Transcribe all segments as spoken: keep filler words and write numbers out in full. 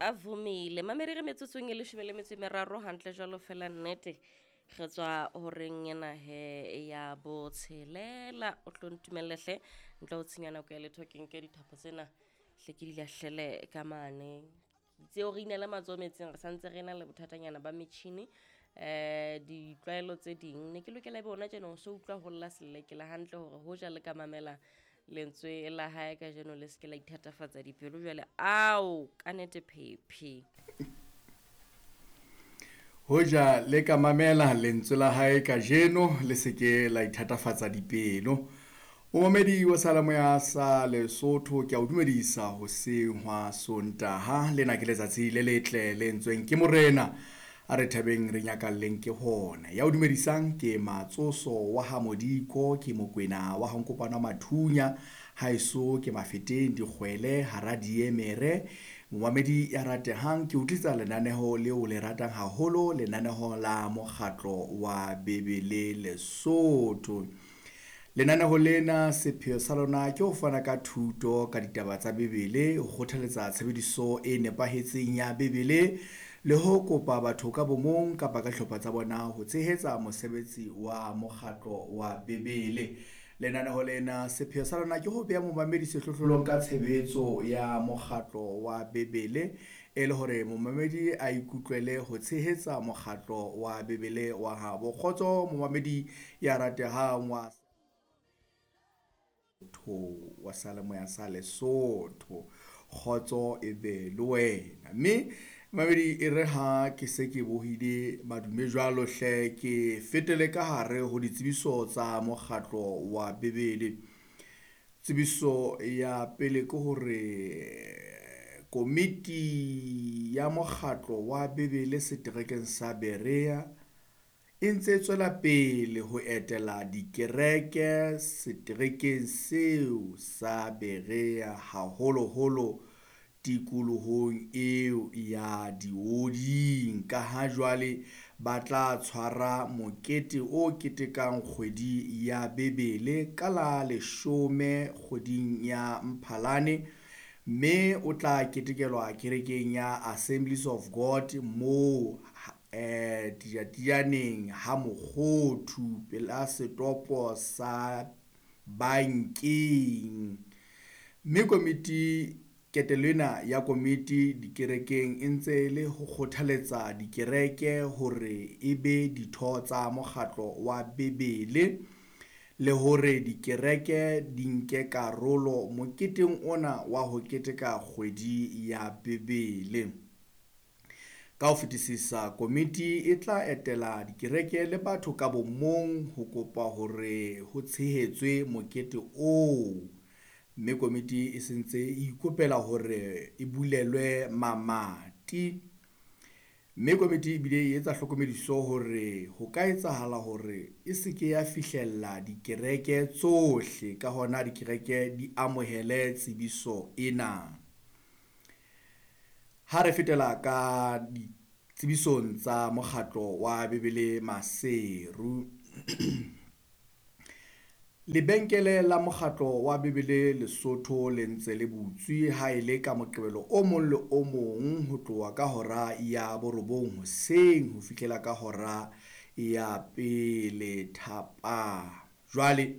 Avumile mamedi re metsotsong e leshome le metso e meraro hantle jwalo fela nnete re tswa horeng ena he ya botshelela. O tlo ntumelle hle ntle ho tshenya nako ya letho, ke nke dithapo tsena hle ke di lahlele ka mane. Tseo re inele matsoho metsing, re santse re na le bothatanyana ba metjhini. Eh ditlwaelo tse ding ne ke lokela ebe hona tjena o so utlwa ho lla selelekela hantle hore hoja le ka mamela lentswe la hae kajeno le seke la ithatafatsa dipelo jwale. Ao ka nete phephi. Hoja le ka mamela lentswe la hae kajeno le seke la ithatafatsa dipelo. Momamedi wa Seyalemoya sa Lesotho, ke a o dumedisa hoseng hwa Sontaha. Lena ke letsatsi le letle le entsweng ke Morena. A re thabeng re nyakalleng ke hona. Ya o dumedisang ke Matsoso wa ha Modiko, ke Mokwena wa ha Nkopano Mathunya, haeso ke Mafeteng Dikgwele hara Diemere. Momamedi ya ratehang, ke o tlisa lenaneho leo le ratang haholo, lenaneho la mokgatlo wa Bebele Lesotho. Lenaneho lena sepheo sa lona ke ho fana ka thuto ka ditaba tsa Bebele, ho kgothaletsa tshebediso e nepahetseng ya Bebele le ho kopa batho ka bomong kapa ka dihlopha tsa bona ho tshehetsa mosebetsi wa mokgatlo wa Bebele. Lenaneho lena sepheo sa lona ke ho beha momamedi sehlohlolong ka tshebetso ya mokgatlo wa Bebele, e le hore momamedi a ikutlwele ho tshehetsa mokgatlo wa Bebele wa habo. Kgotso momamedi ya ratehang wa wa Seyalemoya sa Lesotho. Kgotso e be le wena. Mme mamedi e re ha ke se ke bohile madume jwalo hle, ke fetele ka hare ho ditsebiso tsa mokgatlo wa Bebele. Tsebiso ya pele ke hore komiti ya mokgatlo wa Bebele seterekeng sa Berea e ntse tswela pele ho etela dikereke seterekeng seo sa Berea, haholoholo tikolohong eo ya Dioding, ka ha jwale ba tla tshwara mokete o ketekang kgwedi ya Bebele ka la leshome kgweding ya Mphalane, mme o tla ketekelwa kerekeng ya Assemblies of God moo eh Tijatijaneng ha Mokgothu pela setopo sa bankeng. Mme komiti, ketelo ena ya komiti dikerekeng e ntse le ho kgothaletsa dikereke hore e be ditho tsa mokgatlo wa Bebele le hore dikereke di nke karolo moketeng ona wa ho keteka kgwedi ya Bebele. Ka ho fetisisa, komiti e tla etela dikereke le batho ka bomong ho kopa hore ho tshehetswe mokete oo. Mme komiti e sentse e ikopela hore e bulelwe mamati. Mme komiti ebile e etsa hlokomediso hore ho ka etsahala hore e seke ya fihlella dikereke tsohle, ka hona dikereke di amohele tsebiso ena. Ha re fetela ka ditsebisong tsa mokgatlo wa Bebele Maseru. Lebenkele la mokgatlo wa Bebele Lesotho le ntse le butswe ha e le ka Moqebelo o mong le o mong ho tloha ka hora ya borobong hoseng ho fihlela ka hora ya pele thapama. Jwale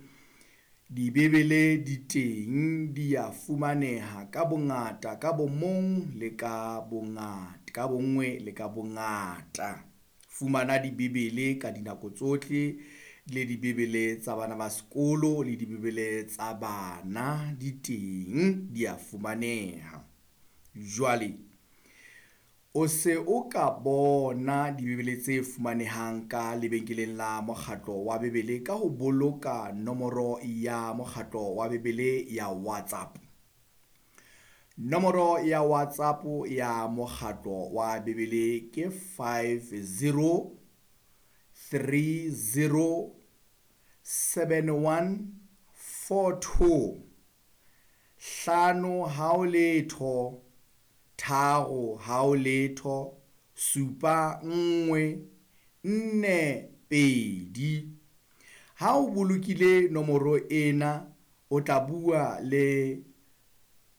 dibebele di teng, di a fumaneha ka bongata, ka bomong le ka bongata, ka bonngwe le ka bongata. Fumana dibebele ka dinako tsohle, le dibebele tsa bana ba sekolo le dibebele tsa bana di teng, di a fumaneha. Jwale o se o ka bona dibebele tse fumanehang ka lebenkeleng la mokgatlo wa Bebele ka ho boloka nomoro ya mokgatlo wa Bebele ya WhatsApp. Nomoro ya WhatsApp ya mokgatlo wa Bebele ke five zero three zero seven one four two. Hlano hao letho, tharo hao letho, supa nngwe, nne pedi. Ha o bolokile nomoro ena, o tla bua le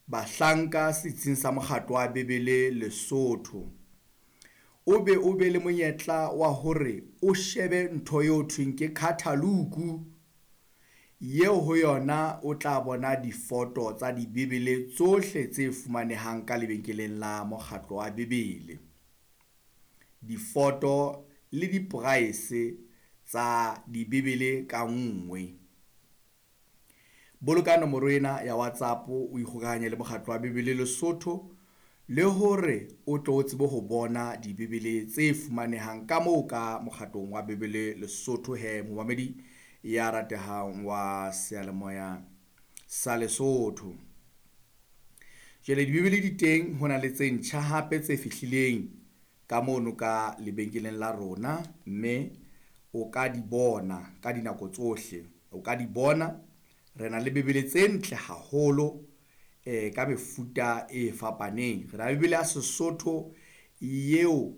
bahlanka setsing sa Mokgatlo wa Bibele Lesotho. O be o be le monyetla wa hore o shebe ntho eo thweng ke catalogue, yeo ho yona o tla bona difoto tsa dibibele tsohle tse fumanehang ka lebenkeleng la Mokgatlo wa Bibele. Difoto le di-price tsa dibibele ka nngwe. Boloka nomoro ena ya WhatsApp o ikgokahanye le Mokgatlo wa Bibele Lesotho le hore o tlo tsebe ho bona dibibele tse fumanehang ka moo ka Mokgatlong wa Bibele Lesotho. He momamedi ya ratehang wa seyalemoya sa Lesotho. Jwale dibibele di teng, ho na le tse ntjha hape tse fihlileng ka mono ka lebenkeleng la rona, mme o ka di bona ka dinako tsohle. O ka di bona, re na le bibele tse ntle haholo eh ka mefuta e fapaneng. Re na le bibele ya Sesotho yeo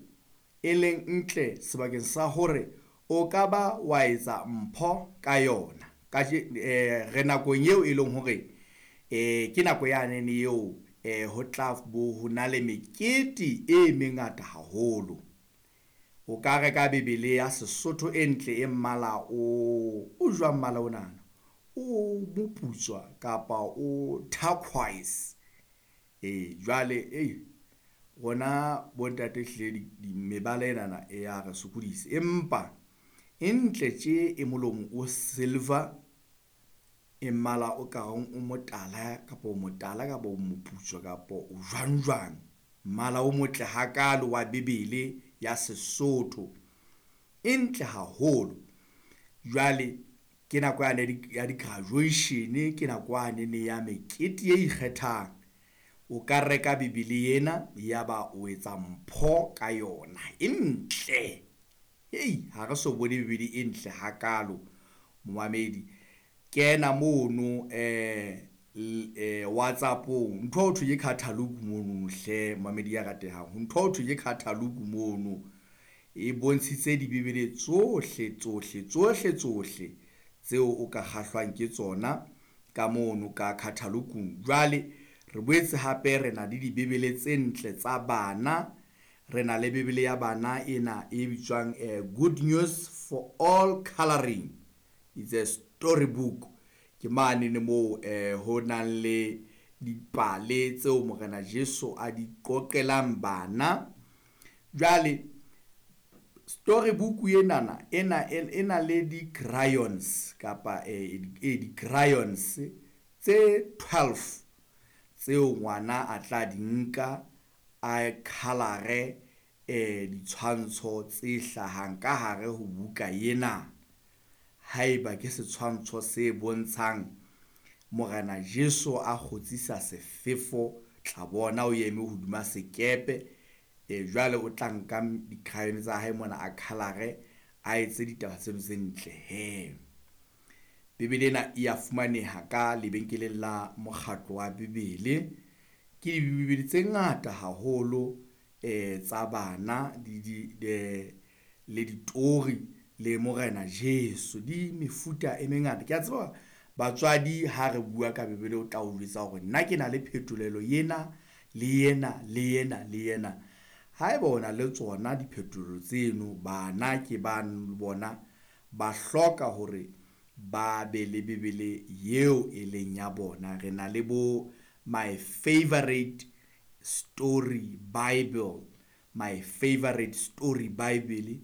e leng ntle sebakeng sa hore o ka ba wa etsa mpho ka yona. Ka eh re nakong eo e leng hore eh ke nako ya nene eo eh ho tla bo ho na le mekete e mengata haholo. O ka reka bibele ya Sesotho e ntle e mmala o o jwang mmala ona, o moputswa kapa o turquoise. Eh jwale eh rona bontate hle mebala enana e ya re sokodisa, empa e ntle tje e molomo o silver, e mmala o ka reng o motala kapa o motala kapa o moputswa kapa o jwang jwang, mmala o motle hakalo wa bibele ya Sesotho, e ntle haholo. Jwale ke nako yane ya di-graduation, ke nako yane ya mekete e ikgethang. O ka reka bibele ena ya ba o etsa mpho ka yona, e ntle. Hei, ha re so bone bibele e ntle hakalo momamedi. Kena mono eh eh WhatsAppong, ntho ho thwe ke catalogue mono hle momamedi ya ratehang, ntho ho thwe ke catalogue mono e bontshitse dibibele tsohle tsohle tsohle tsohle tseo o ka kgahlwang ke tsona ka mono ka catalogue-ung. Jwale re boetse hape re na le dibibele tse ntle tsa bana. Re na le bibele ya bana ena e bitswang eh, Good News for All Coloring. It's a storybook. Ke mane ne moo eh, ho nang le dipale tseo Morena Jesu a di qoqelang bana. Jwale storybook enana ena ena le di-crayons kapa eh, di-crayons tse twelve tseo ngwana a tla di nka a color eh ditshwantsho tse hlahang ka hare ho buka ena. Haeba ke setshwantsho se bontshang Morena Jesu a kgotsisa sefefo, tla bona o eme hodima sekepe. E jwale o tla nka di-crayon tsa hae mona a color a etse ditaba tseno tse ntle he. Bibele ena e ya fumaneha ka lebenkeleng la Mokgatlo wa Bibele. Ke dibibele tse ngata haholo eh tsa bana di di le ditori le Morena Jesu, di mefuta e mengata. Ke a tseba batswadi ha re bua ka bibele o tla o jwetsa hore nna ke na le phetolelo ena le ena le ena le ena. Haeba o na le tsona diphetolelo tseno, bana ke ba bona ba hloka hore ba be le bibele eo e leng ya bona. Re na le bo My Favorite Story Bible, My Favorite Story Bible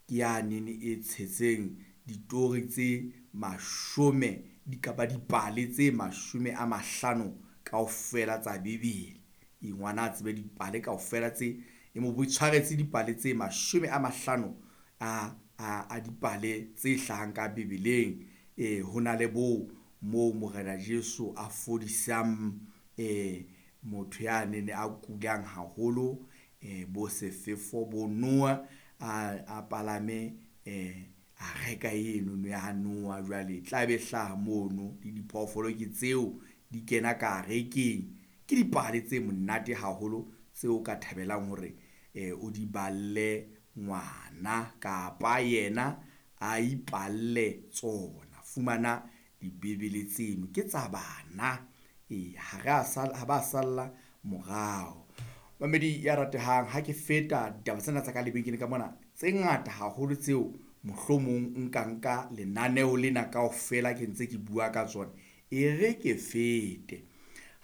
ke yane e tshetseng ditori tse mashome di kapa dipale tse mashome a mahlano kaofela tsa bibele. E ngwana a tsebe dipale kaofela tse e mo tshwaretse dipale tse mashome a mahlano a a a dipale tse hlahang ka bibeleng. E ho na le bo moo Morena Jesu a fodisang eh motho ya nene a kulang haholo, eh bo sefefo bo Noah a a palame eh a reka eno no ya Noah. Jwale tla be hlaha mono le diphoofolo ke tseo di kena ka rekeng. Ke dipale tse monate haholo tseo ka thabelang hore eh o di balle ngwana kapa yena a ipalle tsona. Fumana dibibele tseno ke tsa bana, E ha re a sala, ha ba salla morao. Mamedi ya ratehang, ha ke feta ditaba tsena tsa ka lebenkeleng ka mona tse ngata haholo tseo mohlomong nka nka lenaneo lena kaofela ke ntse ke bua ka tsona, e re ke fete.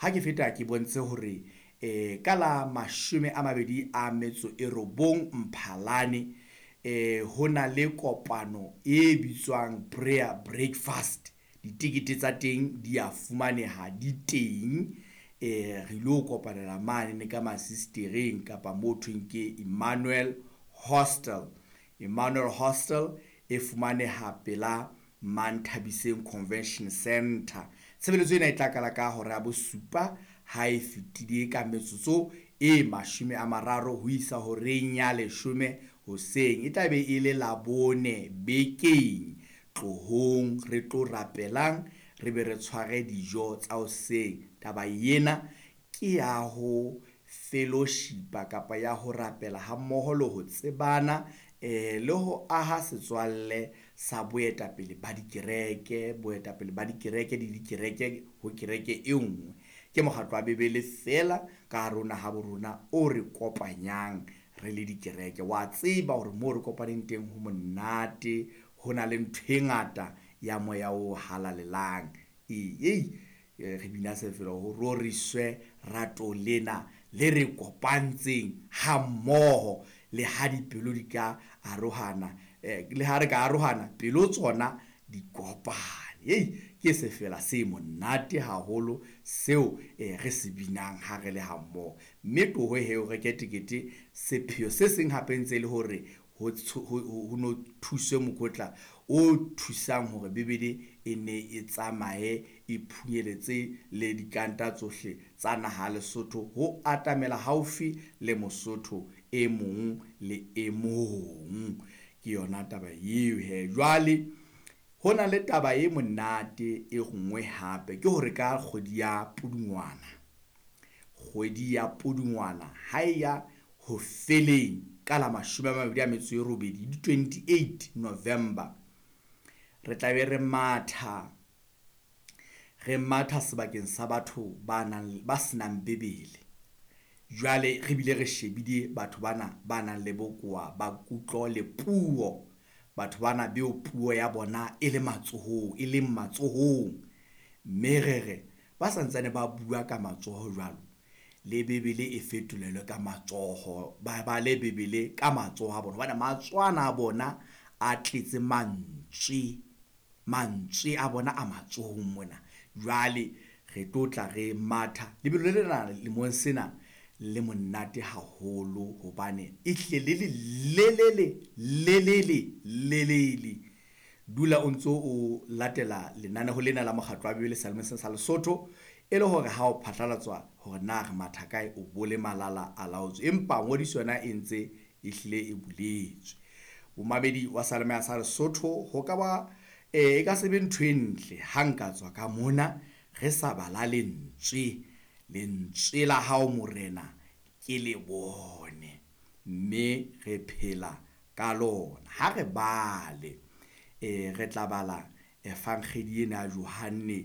Ha ke feta ke bontshe hore eh ka la mashome a mabedi a metso e robong Mphalane eh ho na le kopano e bitswang prayer breakfast. Ditekete tsa teng di a fumaneha di teng. Eh re ilo kopanela mane ne ka masistereng kapa mo thweng ke Emmanuel Hostel. Emmanuel Hostel e fumaneha pela Manthabiseng Convention Center. Tshebeletso ena e tla qala ka hora ya bosupa ha e fetile ka metsotso e mashome a mararo ho isa horeng ya leshome hoseng. E tla be e le Labone bekeng. Tlohong re tlo rapelang, re be re tshware dijo tsa hoseng. Taba ena ke ya ho fellowshipa kapa ya ho rapela hammoho le ho tsebana eh le ho aha setswalle sa boetapele ba dikereke, boetapele ba dikereke le dikereke ho kereke e nngwe. Ke mokgatlo wa Bebele fela ka hare ho naha bo rona o re kopanyang re le dikereke. Wa tseba hore moo re kopaneng teng ho monate, ho na le ntho e ngata ya moya o halalelang. Ee, re bina se fela ho roriswe rato lena le re kopantseng hammoho, le ha dipelo di ka arohana, eh, le ha re ka arohana pelo tsona di kopane. Ei, ke sefela se monate haholo seo eh, re se binang ha re le hammoho. Mme tloho he o reke tekete, sepheo se seng hape ntse e le hore ho ho no thuswe mokotla o thusang hore Bebele e ne e tsamaye e phunyeletse le dikanta tsohle tsa naha Lesotho ho atamela haufi le Mosotho e mong le e mong. Ke yona taba eo he. Jwale ho na le taba e monate e nngwe hape, ke hore ka kgwedi ya Pudungwana, kgwedi ya Pudungwana ha e ya ho feleng ka la mashome a mabedi a metso e robedi, di twenty-eight November, re tla be re matha, re matha sebakeng sa batho ba nang, ba senang Bebele. Jwale re bile re shebile batho bana ba nang le bokowa ba kutlo le puo, batho bana beo puo ya bona e le matsohong, e leng matsohong. Mme re re ba santsane ba bua ka matsoho jwalo, le Bebele e fetolelwe ka matsoho, ba bale Bebele ka matsoho a bona, hobane matsoho a bona a tletse mantswe, mantswe a bona a matsohong mona. Jwale re tlo tla re matha lebelo le lena lemong sena le monate haholo, hobane e hlile le le le le le le le le le. Dula o ntso o latela lenaneo lena la mokgatlo wa Bebele Selemeng sa Lesotho, e le hore ha o phatlalatswa hore na re matha kae, o bole malala a laotswe. Empa ngodiso yona e ntse e hlile e buletswe. Bomamedi wa Selemeng sa Lesotho, ho ka ba eh e ka se be ntho e ntle ha nka tswa ka mona re sa bala lentswe, lentswe la hao Morena ke le bone, mme re phela ka lona. Ha re bale eh re tla bala evangeli ena ya Johanne